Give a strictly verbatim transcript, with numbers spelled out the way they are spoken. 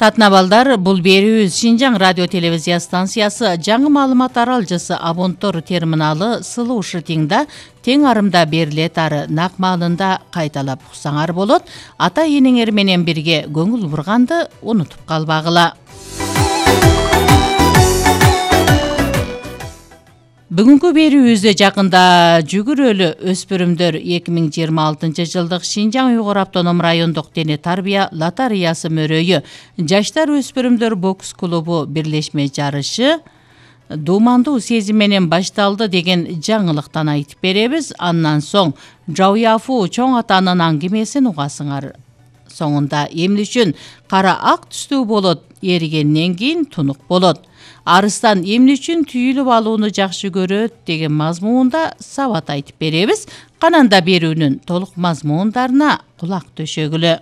Татына балдар, бул берүүбүз Шинжаң радио телевизия станциясы жаңы маалымат аралжысы Абонтор терминалы сылуу шытыңда тең арымда берилет ары нак маалында кайталап уксаңар болот. Ата энеңер менен бирге көңүл бурганды унутуп калбагыла. Бүгүнкү берүүбүздө жакында жүгүрөлү өспүрүмдөр эки миң жыйырма алтынчы жылдык Шинжаң Уйгур автоном райондук дене тарбия лотереясы мөрөйү Жаштар өспүрүмдөр бокс клубу бирлешме жарышы дуумандуу сезим менен башталды деген жаңылыктан айтып беребиз. Андан соң Жауяфу чоң атанын аңгемесин угасыңар. Соңунда эмне үчүн кара ак түстүү болот, эригенден кийин тунук болот. Арыстан эмне үчүн түйүлүп алууну жакшы көрөт деген мазмуунда сабат айтып беребиз. Кананда берүүнүн толук мазмуундарына кулак төшөгүлө.